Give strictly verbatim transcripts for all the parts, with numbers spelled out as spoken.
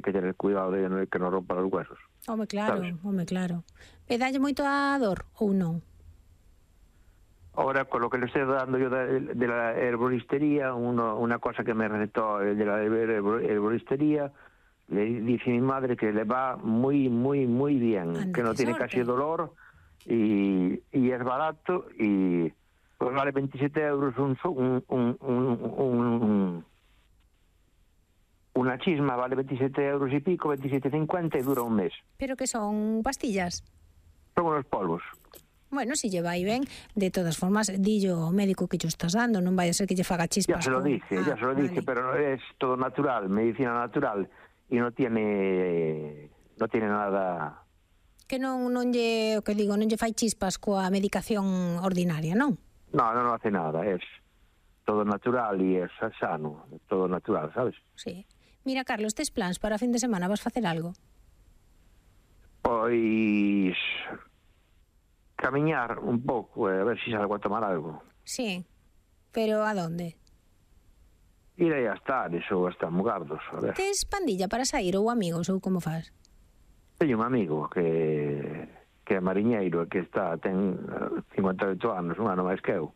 hai que tener cuidado de que non rompa os huesos. Home, claro, ¿sabes? home, claro. E dalle moito a dor ou non? Ahora, con lo que le estoy dando yo de, de la herboristería, uno, una cosa que me recetó de la herboristería, le dice mi madre que le va muy, muy, muy bien, Anda, que no qué tiene suerte. casi dolor y, y es barato y pues vale veintisiete euros un, un, un, un, un una chisma, vale veintisiete euros y pico, veintisiete cincuenta y dura un mes. Pero que son pastillas? Son unos polvos. Bueno, si lle vai ben, de todas formas, dillo ao médico que lle estás dando, non vai a ser que lle faga chispas. Ya se lo con... dije, ah, ya se lo vale. dije, pero es todo natural, medicina natural y no tiene no tiene nada. Que non non lle, o que digo, non lle fai chispas coa medicación ordinaria, non? No, no, no hace nada, es todo natural y es sano, todo natural, ¿sabes? Sí. Mira, Carlos, tes plans para fin de semana? Vas facer algo? Pois camiñar un pouco, a ver se si salgo a tomar algo. Sí. Pero a donde? Ir aí a Estares ou hasta Mugardos, a ver. Tes pandilla para sair ou amigos ou como fas? Teño un amigo que que é mariñeiro e que está ten cincuenta e oito anos, un ano máis que eu.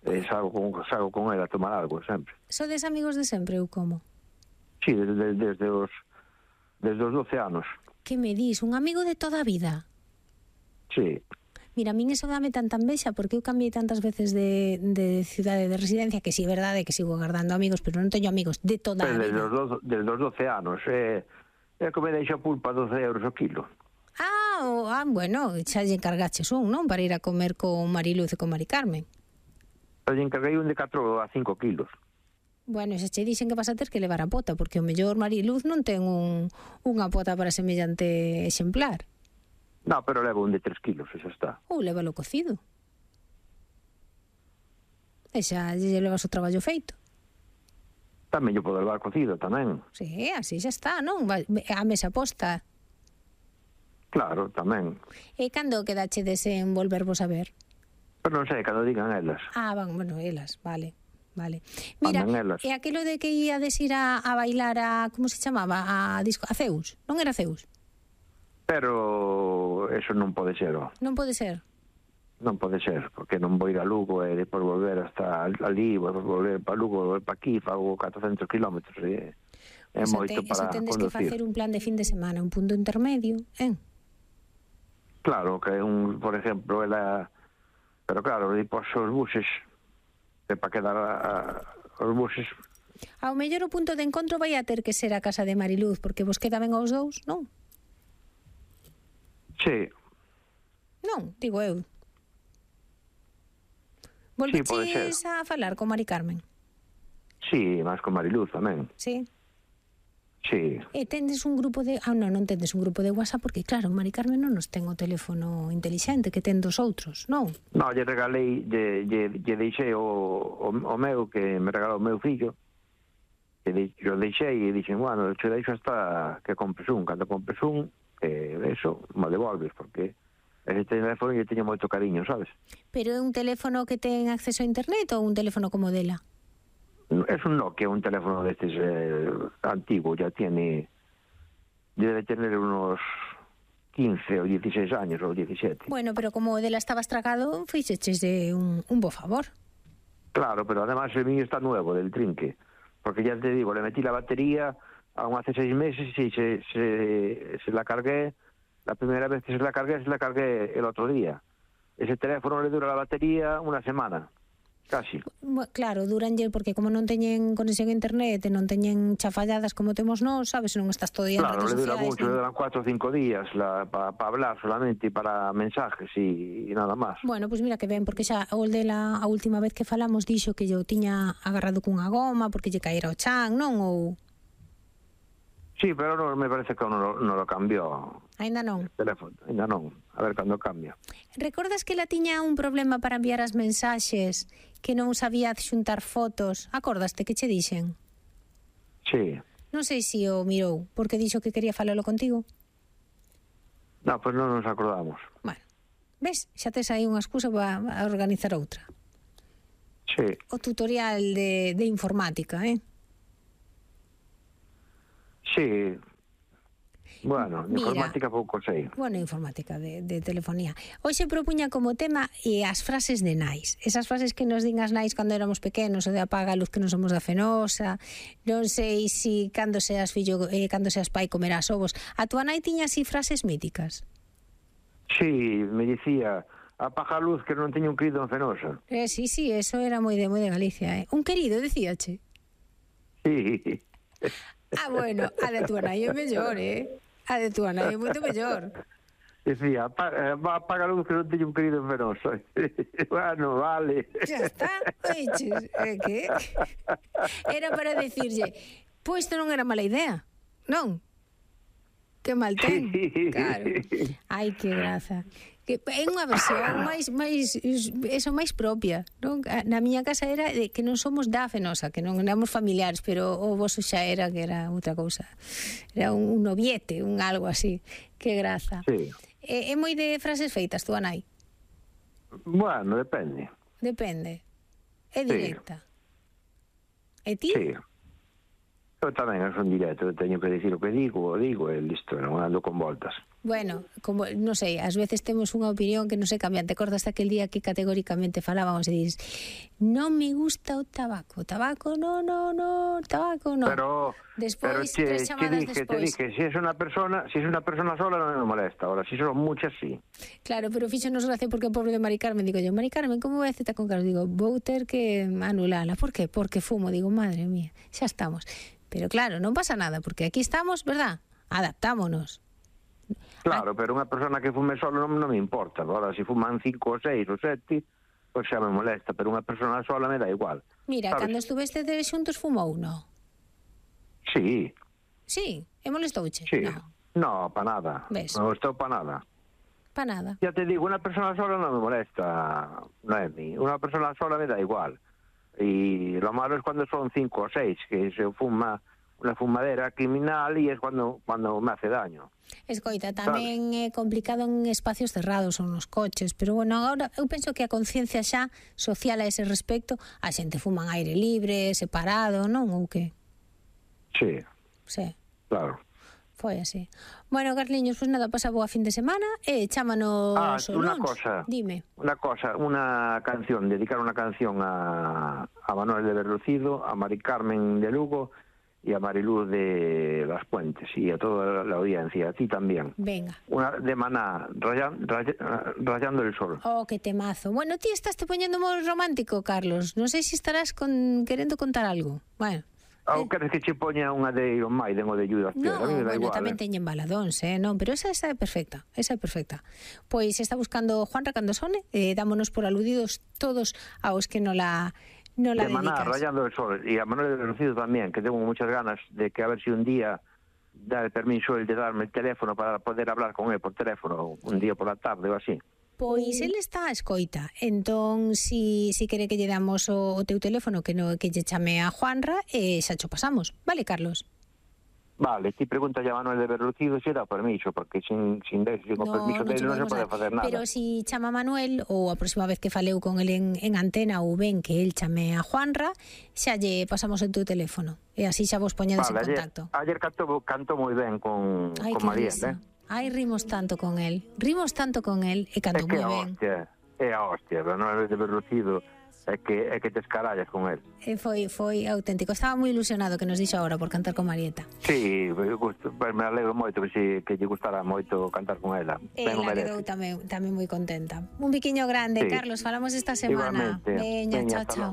E salgo con, salgo con ele a tomar algo sempre. Sodes amigos de sempre ou como? Sí, desde, desde os desde os doce anos. Que me dis, un amigo de toda a vida? Sí. Mira, a min eso dame tanta envexa porque eu cambiei tantas veces de, de cidade de residencia que si sí, é verdade que sigo agardando amigos, pero non teño amigos de toda a Desde vida. os, doce, desde os doce anos. É, é que me deixa pulpa doce euros o kilo. Ah, o, ah, bueno, xa lle encargaches un, non? Para ir a comer con Mariluz e con Mari Carmen. Eu lle encarguei un de catro a cinco kilos. Bueno, xa che dixen que vas a ter que levar a pota, porque o mellor Mariluz non ten un, unha pota para semellante exemplar. No, pero levo un de tres kilos, e xa está. Ou lévalo cocido. E xa lle levas o traballo feito. Tamén yo podo levar cocido, tamén. Sí, así xa está, non? A mesa posta. Claro, tamén. E cando quedachedes en volvervos a ver? Pero non sei, cando digan elas. Ah, van, bueno, elas, vale. Vale. Mira, elas. e aquilo de que íades ir a, a bailar a, como se chamaba, a disco, a Zeus, non era Zeus? Pero eso non pode ser, ó. Non pode ser. Non pode ser, porque non vou ir a Lugo e depois volver hasta ali, vou volver para Lugo, volver para aquí, fago catrocentos kilómetros, e é Eso moito te, para eso tendes conducir. que facer un plan de fin de semana, un punto intermedio, eh? Claro, que un, por exemplo, ela... Pero claro, depois os buses, que para quedar a, a, os buses... Ao mellor o punto de encontro vai a ter que ser a casa de Mariluz, porque vos queda ben aos dous, non? Sí. Non, digo eu. Volveches sí, a falar con Mari Carmen? Sí, máis con Mariluz tamén. Sí? Sí. E tendes un grupo de... Ah, non, non tendes un grupo de WhatsApp porque, claro, Mari Carmen non nos ten o teléfono intelixente que ten dos outros, non? Non, lle regalei, lle, lle, lle deixei o, o, o meu, que me regalou o meu fillo, que de, yo deixei e dixen, bueno, che deixo hasta que compres un. Cando compres un, eh, eso, me devolves, porque ese teléfono lle teño moito cariño, sabes? Pero é un teléfono que ten acceso a internet ou un teléfono como dela? Es un Nokia, un teléfono de este eh, antiguo, ya tiene, debe tener unos quince o dieciséis años o diecisiete. Bueno, pero como o dela estaba estragado, fixeches de un, un bo favor. Claro, pero además el mío está nuevo, del trinque, porque ya te digo, le metí la batería aún hace seis meses y se, se, se la cargué, la primera vez que se la cargué, se la cargué el otro día. Ese teléfono le dura la batería una semana. Casi. Claro, duranlle porque como non teñen conexión a internet e non teñen chafalladas como temos nós, sabes, non estás todo día en claro, redes sociais. Claro, le dura mucho, ¿no? le duran cuatro o cinco días para pa hablar solamente, para mensajes y, y nada más. Bueno, pois pues mira que ben, porque xa o de la a última vez que falamos dixo que yo tiña agarrado cunha goma porque lle caera o chan, non? Ou... Sí, pero no, me parece que non lo, no lo cambió. Ainda non? El teléfono, ainda non. A ver cando cambia. Recordas que la tiña un problema para enviar as mensaxes, que non sabía xuntar fotos? Acordaste que che dixen? Sí. Non sei se o mirou, porque dixo que quería falalo contigo. No, pues non nos acordamos. Bueno, ves, xa tes aí unha excusa para organizar outra. Sí. O tutorial de, de informática, eh? Sí, Bueno, de informática pouco sei. Bueno, informática de, de telefonía. Hoxe propuña como tema e as frases de nais. Esas frases que nos din as nais cando éramos pequenos, o de apaga a luz que non somos da Fenosa, non sei si cando seas fillo, eh, cando seas pai comerás ovos. A túa nai tiña así frases míticas? Sí, me dicía, apaga a luz que non teño un querido en Fenosa. Eh, sí, sí, eso era moi de, moi de Galicia, eh. Un querido, decíache? Sí. Ah, bueno, a de túa nai é mellor, eh? A de túa nai é moito mellor. Decía, apaga, apaga a luz que non teño un querido en Fenosa. Bueno, vale. Ya está, oiches, eh, que? Era para decirlle, pois isto non era mala idea, non? Que mal ten, sí. Claro. Ai, que graza. Que é unha versión máis máis eso máis propia, non? Na miña casa era de que non somos da Fenosa, que non éramos familiares, pero o voso xa era que era outra cousa. Era un, un noviete, un algo así. Que graza. Sí. É, é moi de frases feitas, túa nai? Bueno, depende. Depende. É directa. Sí. E ti? Sí. Eu tamén son directo, teño que dicir o que digo, o digo, e listo, non ando con voltas. Bueno, como, non sei, ás veces temos unha opinión que non se cambia. Te acordas aquel día que categóricamente falábamos e dices, non me gusta o tabaco, tabaco, no, no, no, tabaco, no. Pero, despois, pero tres che, chamadas te dije, despois. te dije, si es una persona, si es una persona sola non me molesta, ahora si son muchas, sí. Claro, pero fíxonos gracia porque o pobre de Mari Carmen, digo yo, Mari Carmen, como vai a cita con Carlos? Digo, vou ter que anulala. Por qué? Porque fumo. Digo, madre mía, xa estamos. Pero claro, non pasa nada, porque aquí estamos, verdad? Adaptámonos. Claro, pero unha persona que fume solo non, non me importa. Agora, se fuman cinco ou seis ou sete, pois xa me molesta, pero unha persona sola me dá igual. Mira, ¿sabes? cando estuveste de xuntos fumou, non? Sí. Sí, e molestouche? Sí. No. No, pa nada. ¿Ves? Non estou pa nada. Pa nada. Ya te digo, unha persona sola non me molesta, Noemi. Unha persona sola me dá igual. Y lo malo es cuando son cinco o seis, que se fuma una fumadera criminal y es cuando cuando me hace daño. Escoita, tamén é complicado en espacios cerrados ou nos coches, pero bueno, agora eu penso que a conciencia xa social a ese respecto, a xente fuma en aire libre, separado, non? Ou que? Sí. Sí. Claro. Foi así. Bueno, Carliños, pues nada, pasa boa fin de semana e chámanos Ah, o una luns. cosa. Dime. Una cosa, una canción, dedicar una canción a, a Manuel de Berlucido, a Mari Carmen de Lugo y a Mariluz de Las Puentes y a toda la audiencia, a ti también. Venga. Una de Maná, rayan, ray, Rayando el Sol. Oh, que temazo. Bueno, ti estás te poñendo moi romántico, Carlos. Non sei se estarás con querendo contar algo. Bueno. Ou queres que che poña unha de Iron Maiden ou de Judas Priest? No, a mí me dá bueno, igual, tamén eh. teñen baladóns, eh? Non, pero esa, esa é perfecta, esa é perfecta. Pois está buscando Juan Racandosone, eh, dámonos por aludidos todos aos que no la, no la de Maná, dedicas. Rayando el Sol, y a Manuel de Berlucido también, que tengo muchas ganas de que a ver si un día da el permiso el de darme el teléfono para poder hablar con él por teléfono, un día por la tarde ou así. Pois ele está a escoita, entón si, si quere que lle damos o, o teu teléfono que no que lle chame a Juanra e xa cho pasamos, vale, Carlos? Vale, ti pregunta a Manuel de Berlucido se dá permiso, porque sin, sin, de, sin no, permiso non dele non se pode facer nada. Pero si chama a Manuel, ou a próxima vez que faleu con el en, en antena ou ben que el chame a Juanra, xa lle pasamos o teu teléfono e así xa vos poñedes vale, en contacto. Ayer, ayer canto, canto moi ben con, Ai, con Mariel, eh? Ai, rimos tanto con él, rimos tanto con él e canto moi ben. Hostia, é a hostia, Manuel de Berlucido é que, é que te escarallas con él. E foi, foi auténtico, estaba moi ilusionado que nos dixo agora por cantar con Marieta. Sí, gusto, me alegro moito que, si, que lle gustara moito cantar con ela. Ela quedou tamén, tamén moi contenta. Un biquiño grande, sí. Carlos, falamos esta semana. Veña, chao, chao.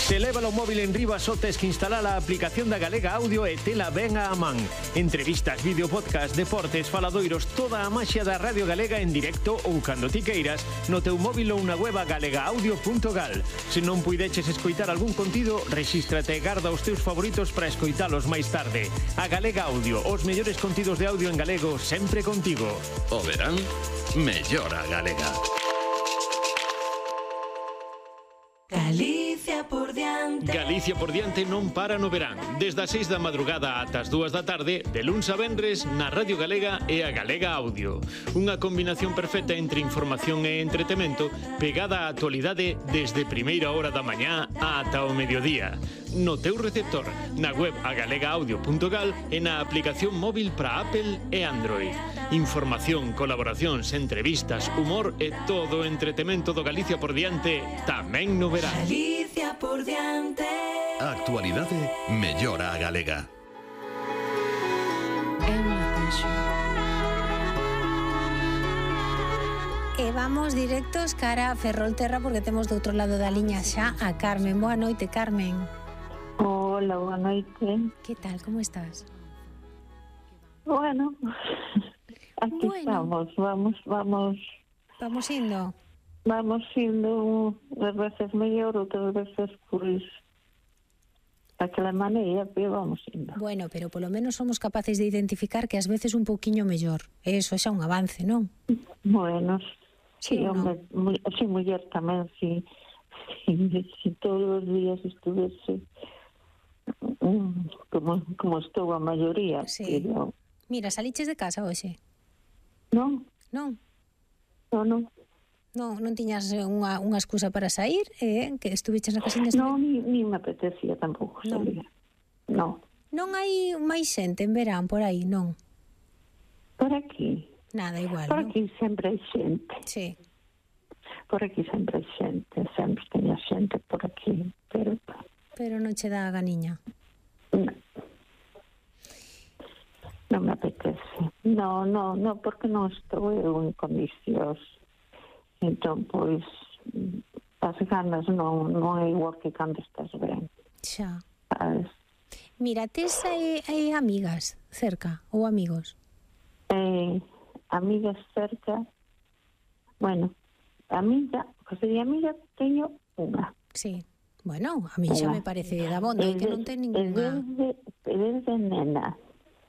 Se leva o móvil en riba só tes que instalar a aplicación da Galega Audio e tela ben a man. Entrevistas, vídeo, podcast, deportes, faladoiros, toda a maxia da Radio Galega en directo ou cando ti queiras no teu móvil ou na web galega audio punto gal. Se non puideches escoitar algún contido, rexístrate e garda os teus favoritos para escoitalos máis tarde. A Galega Audio, os mellores contidos de audio en galego sempre contigo. O verán, mellora Galega. Galicia por diante. Galicia Galicia por diante non para no verán. Desde as seis da madrugada ata as dúas da tarde, de luns a venres, na Radio Galega e a Galega Audio. Unha combinación perfecta entre información e entretemento, pegada á actualidade desde primeira hora da mañá ata o mediodía. No teu receptor, na web agalega audio punto gal e na aplicación móvil para Apple e Android. Información, colaboracións, entrevistas, humor e todo o entretemento do Galicia por diante tamén no verán. Galicia por diante. A actualidade mellora a galega. É unha pensión. E vamos directos cara a Ferrolterra porque temos do outro lado da liña xa a Carmen. Boa noite, Carmen. Hola, boa noite. Que tal, como estás? Bueno, aquí Bueno. estamos, vamos, vamos, Vamos indo. vamos indo unhas veces mellor, outras veces, pois, daquela maneira, pero vamos indo. Bueno, pero polo menos somos capaces de identificar que ás veces un pouquiño mellor. Eso xa un avance, non? Bueno, Sí, sí, ou hombre, mu- sí, muller tamén, sí, sí, si todos os días estuvese mm, como, como estou a maioría, Sí. pero Mira, saliches de casa hoxe? non, Non? non, non, Non, non tiñas unha, unha excusa para sair, eh? Que estuviches na casiña? non, ni, ni me apetecía tampouco Non. salir, non. Non hai máis xente en verán por aí, non? Por aquí, Nada, igual, por non? aquí sempre hai xente. Sí. Por aquí sempre hai xente, sempre teña xente por aquí, pero Pero non che dá a ganiña. non, non me apetece. No, no, no, porque non estou eu en condicións. Entón, pois, as ganas non, non é igual que cando estás ben, Xa. sabes? Mira, tes hai, hai amigas cerca ou amigos? Eh, amigas cerca, bueno, amiga, cosa de amiga teño unha. Sí. Bueno, a mí xa me parece da bondo, é que non ten ninguna... Desde, desde nena,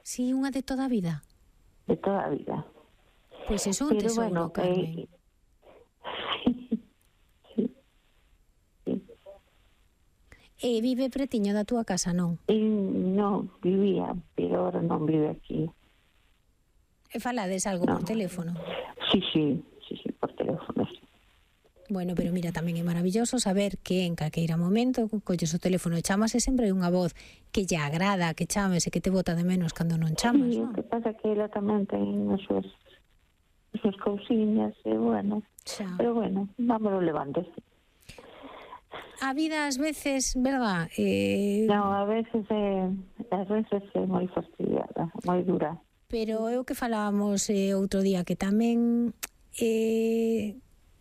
Sí, unha de toda a vida. de toda a vida. Pois é un Pero tesouro, bueno, Carmen. eh, sí, sí. E vive pretiño da túa casa, non? E non vivía, pero ahora non vive aquí. E falades algo por No. teléfono? Sí, sí, sí, sí, por teléfono, sí. Bueno, pero mira, tamén é maravilloso saber que en calqueira momento colles o teléfono e chamas e sempre hai unha voz que lle agrada, que chames e que te bota de menos cando non chamas, Sí, o non? que pasa que ela tamén ten as súas, as súas cousiñas, e bueno, Xa. pero bueno, vámonos levando. A vida ás veces, verdad? Eh, Non, a veces é, a veces é moi fastidiada, moi dura. pero é o que falábamos eh, outro día, que tamén eh,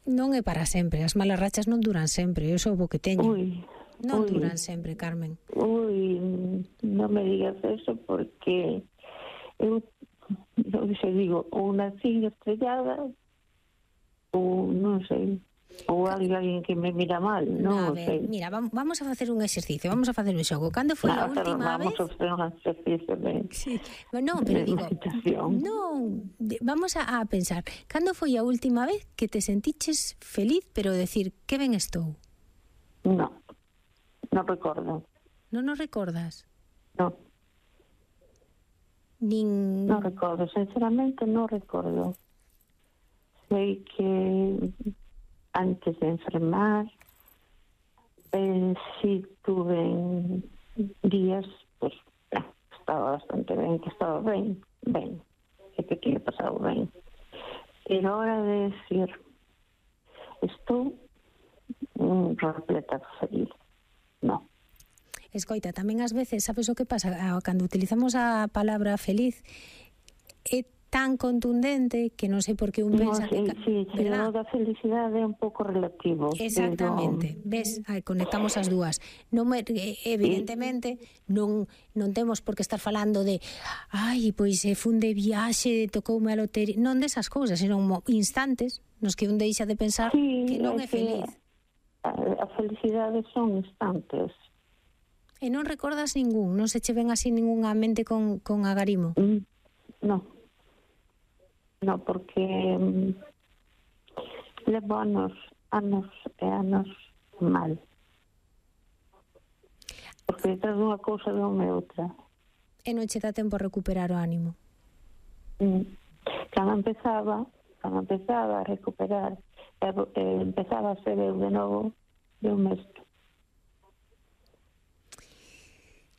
non é para sempre. As malas rachas non duran sempre, eu sou o que teño. Ui, Non ui. duran sempre, Carmen. Ui, non me digas eso porque eu, eu se digo, ou nací estrellada ou non sei, ou alguén que me mira mal, A non ver, sei. mira, vam- vamos a facer un exercicio, vamos a facer un xogo. Cando foi a Nada, pero última vamos vez? a facer un exercicio de, Sí. Non, pero de digo, meditación. non, de- vamos a, a pensar. Cando foi a última vez que te sentiches feliz, pero decir, que ben estou? No, non recordo. Non nos recordas? No, Nin... non recordo. Sinceramente, non recordo. Sei que antes de enfermar, eh, sí tuve días, pues, eh, estaba bastante ben, que estaba ben, ben, e que tinha pasado ben. Pero ahora de decir, estou mm, repleta de feliz. No. Escoita, tamén ás veces, sabes o que pasa? Ah, cando utilizamos a palabra feliz, é tan contundente que non sei por que un No, pensa que... sí, ca- sí, sí, ¿verdad? o da felicidade é un pouco relativo. Exactamente, ves, aí conectamos as dúas. Non me, eh, evidentemente non non temos por que estar falando de ai, pois se fun de viaxe, tocoume a lotería, non desas cousas, senón mo- instantes nos que un deixa de pensar Sí, que non é é que feliz. A, a felicidade son instantes. E non recordas ningún, non se che ven así ningunha mente con, con agarimo. Mm, no. No, porque mm, levo anos, anos e anos mal. porque detrás dunha cousa dunha outra. E non che dá tempo a recuperar o ánimo. Mm. Cando empezaba, cando empezaba a recuperar, e, e empezaba a ser eu de novo, de un mesto.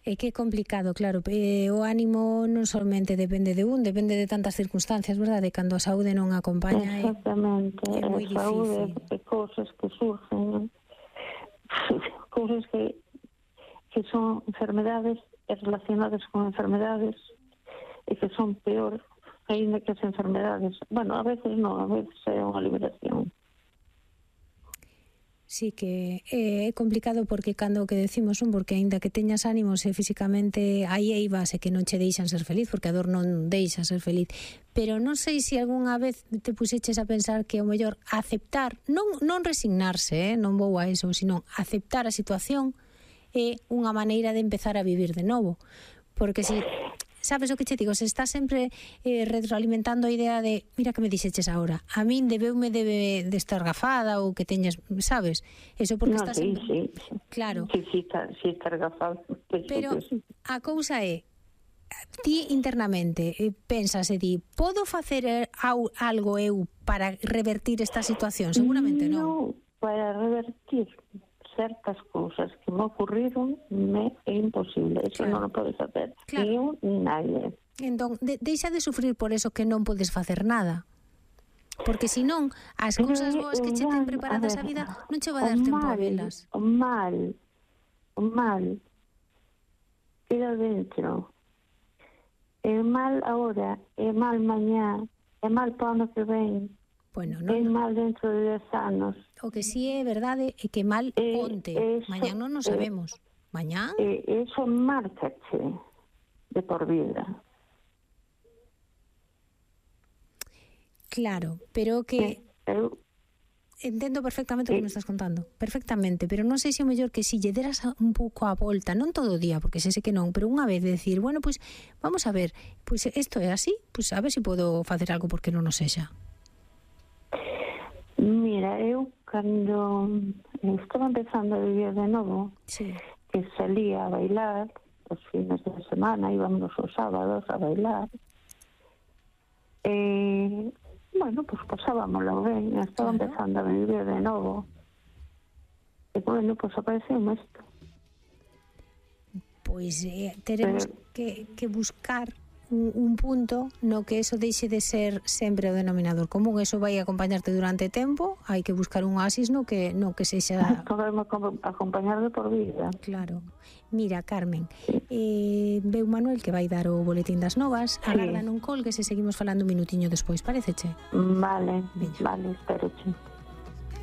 É que é complicado, claro, eh, o ánimo non solamente depende de un, depende de tantas circunstancias, verdade? Cando a saúde non acompaña é, Exactamente, é moi a saúde difícil. de cousas que surgen, cousas que, que son enfermedades relacionadas con enfermedades e que son peor ainda que as enfermedades. Bueno, a veces non, a veces é unha liberación. Sí que é complicado porque cando o que decimos un, porque aínda que teñas ánimos e físicamente hai eivas e que non che deixan ser feliz, porque a dor non deixa ser feliz, pero non sei se algunha vez te puseches a pensar que o mellor aceptar, non, non resignarse, eh? non vou a eso, sino aceptar a situación é unha maneira de empezar a vivir de novo, porque si sabes o que che digo, se está sempre eh, retroalimentando a idea de mira que me dixeches agora, a min debeume debe de estar gafada ou que teñas, sabes? Eso porque No, estás sí, sempre... sí. Claro. Sí, sí, está, sí, está gafado. Pues, Pero sí. a cousa é ti internamente eh, pensas e di, podo facer au, algo eu para revertir esta situación? Seguramente non. No, para revertir certas cousas que me ocurriron me é imposible, eso Claro. non o podes facer, Claro. ni eu ni nadie. Entón, de, deixa de sufrir por eso que non podes facer nada. Porque se non, as Pero cousas é boas que che o ten mal, preparadas a a ver, vida non che vai o dar tempo a mal, velas. O mal, o mal queda dentro. É mal agora, é mal mañá, é mal para o ano que ven, Bueno, é non, mal dentro de dez anos. o que si é verdade é que mal Eh, onte, eso, mañán non o eh, sabemos. Mañán? E eso márcache de por vida. Claro, pero que Eu entendo perfectamente o que Sí. me estás contando, perfectamente, pero non sei se o mellor que si lle deras a- un pouco a volta, non todo o día, porque sei que non, pero unha vez de decir, bueno, pois pues, vamos a ver, pois pues, isto é así, pois pues, a ver se si podo facer algo porque non o sexa. Mira, eu cando estaba empezando a vivir de novo, Sí. que salía a bailar os fines de semana, íbamos os sábados a bailar, e, bueno, pues pasábamoslo ben, estaba Claro. empezando a vivir de novo, e, bueno, pues apareceu isto. Pois eh, teremos Pero- que, que buscar un, un punto no que eso deixe de ser sempre o denominador común, eso vai acompañarte durante tempo, hai que buscar un oasis no que, no que sexa... Podemos acompañar de por vida. Claro. Mira, Carmen, eh, veu Manuel que vai dar o boletín das novas, Sí. agarda non colgues e seguimos falando un minutiño despois, pareceche? Vale, Veña. vale, espero, che.